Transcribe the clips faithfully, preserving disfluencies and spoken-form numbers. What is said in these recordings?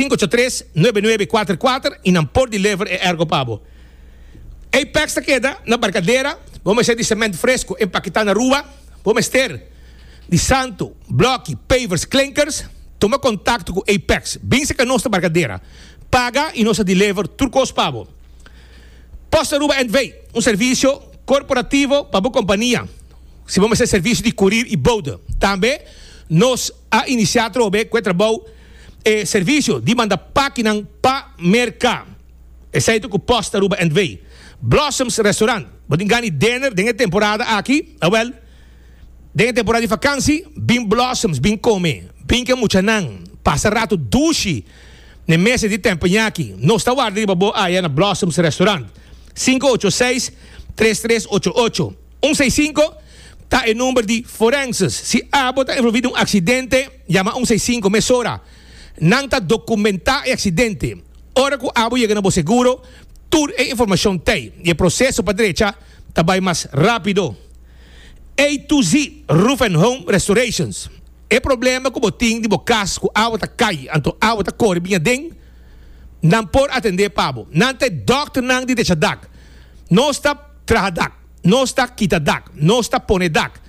Sinku ocho tres, nuebe nuebe kuater kuater i nan por deliver e airco pa bo. Apex ta keda na Barcadera. Bo mester di cement fresco empaketá na Aruba, bo mester di santo, bloki, pavers, klinkers, tuma kontakto ku Apex. Bin serka nos na Barcadera. Paga i nos ta deliver tur kos pa bo. Post Aruba N V, un servisio korporativo pa bo kompania. Si bo mester servisio di kurir i bode. Tambe nos a inisiá atrobe ku e trabou e servisio di manda pakinan pa merka. Esei ta ku Post Aruba N V. Blossoms Restaurant, bo tin gana di dinner den e temporada aki? Awel, den e temporada di vakansi, bin Blossoms, bin kome, bin ku e muchanan, pasa ratu dushi n'e mesa di tempeñaki. Nos ta warda riba bo aya na Blossoms Restaurant. Sinku ocho seis, tres tres ocho ocho. Un seis sinku ta e number di forenses. Si abo ta envolví den un aksidente, yama un seis sinku mesora. Nan ta dokumentá e aksidente. Ora ku abo yega na bo seguro, tur e informashon t'ei i e proseso pa drecha ta bai mas rápido. A to Z Roof and Home Restorations. E problema ku bo tin di bo kas ku awa ta kai anto awa ta kore bin aden, nan por atendé pa bo. Nan ta e dòkternan di drecha dak. Nos ta traha dak, nos ta kita dak, nos ta pone dak,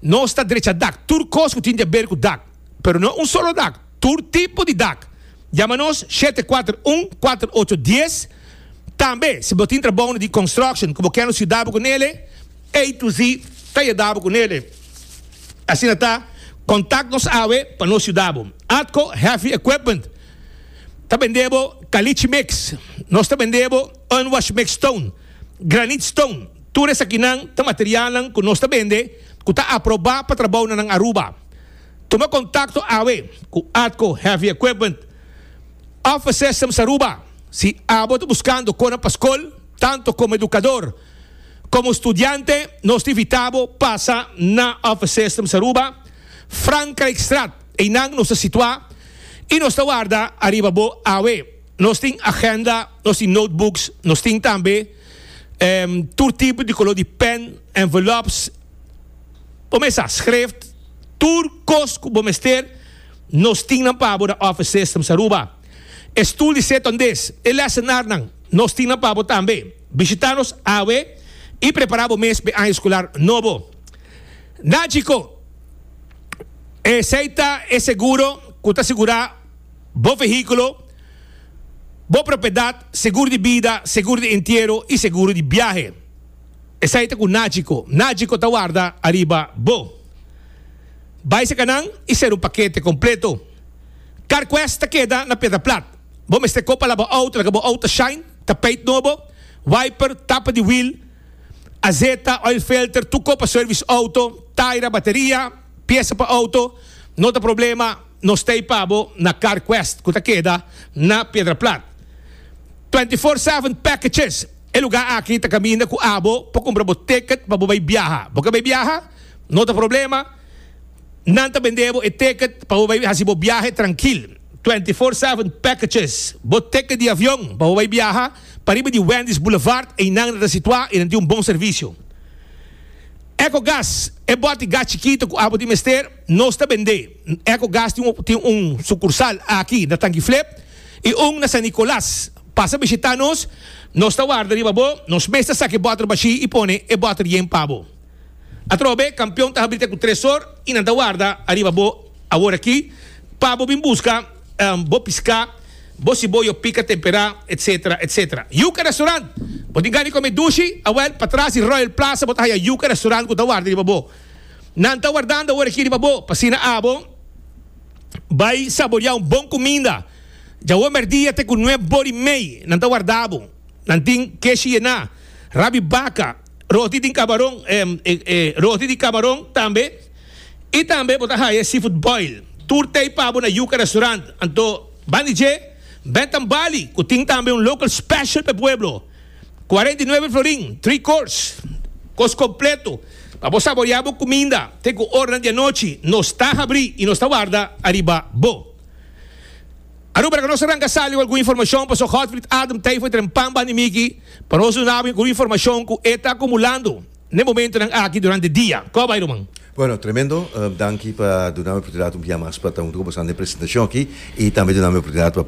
nos ta drecha dak, tur kos ku tin di aber ku dak. Pero no un solo dak, tur tipo di dak. Yama nos shete kuater un, kuater ocho dies. Tambe si bo tin trabounan di construction ku bo kier nos yuda bo ku nele, A to Z ta yuda bo ku nele. Asina ta, kontak nos awe pa nos yuda bo. Atco Heavy Equipment ta bende bo caliche mix, nos ta bende bo unwash mix stone, granite stone. Tur esakinan ta materialnan ku nos ta bende ku ta aprobá pa trabounan nan Aruba. Tuma kontakto awe ku Atco Heavy Equipment. Office Systems Aruba, si abo ta buskando kona pa skol, tanto komo edukador komo studiante, nos ta invitá bo pasa na Office Systems Aruba, Frankrijkstraat. Einan nos ta situá i nos ta warda ariba bo awe. Nos tin agenda, nos tin notebooks, nos tin tambe tur tipo di koló di pen, envelops, bo mesa schrift, tur kos ku bo mester nos tin nan pa bo na Office Systems Aruba. E stoel di setondes, e lessenarnan, nos tin nan pa bo tambe. Bishita nos awe i prepara bo mes p'e aña eskolar nobo. Nagico, esei ta e seguro ku ta sigurá bo vehíkulo, bo propiedat, seguro di bida, seguro di entiero i seguro di biahe. Esei ta ku Nagico. Nagico ta warda ariba bo. Bai saka nan i ser un pakete kompleto. CarQuest ta keda na Piedra Plat. Bo mester kopa laba outo, laga bo outo shine, tapijt nobo, wiper, tapa di wiel, azeta, oil filter, tur kopa service outo, taira, bateria, piesa pa outo, no ta problema, nos ta ei pa bo na CarQuest ku ta keda na Piedra Plat. Twenty four seven packages, e lugar aki ta kaminda ku abo por kumpra bo ticket pa bo bai biaha. Bo ke bai biaha? No ta problema, nan ta bende bo e ticket pa bo bai hasi bo biahe trankil. Twenty four seven packages, bo ticket di avion pa bo bai biaha pariba di Wendy's Boulevard, einan nan ta situá i nan tin un bon servisio. Ecogas, e bòti gas chikito ku abo tin mester, nos ta bend'é. Ecogas tin un tin un sukursal aki na Tanki Flip i un na San Nicolas. Pasa bishitá nos, nos ta warda riba bo, nos mes ta saka e bòter bashí i pone e bòter yen pa bo. Atrobe, Kampion ta habri te ku tres or i nan ta warda ariba bo awor aki pa bo bin buska bo piská, bo siboyo pika temperá, etcetera, etcetera. Yuca Restaurant! Bo tin gana di kome dushi? Awel, patras di Royal Plaza bo ta haya Yuca Restaurant ku ta warda riba bo. Nan ta wardando awor aki riba bo pa asina abo bai saboreá un bon kuminda. Djawe mèrdia te ku nuebe bor i mei nan ta warda bo. Nan tin keshi yená, rabi baka, roti tin kabaron, roti di kabaron tambe. I tambe bo ta haya seafood boil. Tur tei pa bo na Yuca Restaurant. Anto ban di dje, Bentham Bali, ku tin tambe un local special pa e pueblo. Kuarenta i nuebe florin, three course, kos kompleto pa bo saboreá bo kuminda te ku oranan di anochi. Nos ta habrí i nos ta warda ariba bo. Aruba laga nos ranka sali ku algun informashon pasobra Godfried Adam ta ei for trempan banda di Miki pa nos duna bo algun informashon ku e ta akumulando n'e momentonan aki durante dia. Kò bai ruman? Bueno, tremendo. Uh, danki pa duna mi oportunidad un dia mas pa ta hunto cu boso den presentacion aki y tambe duna mi oportunidad pa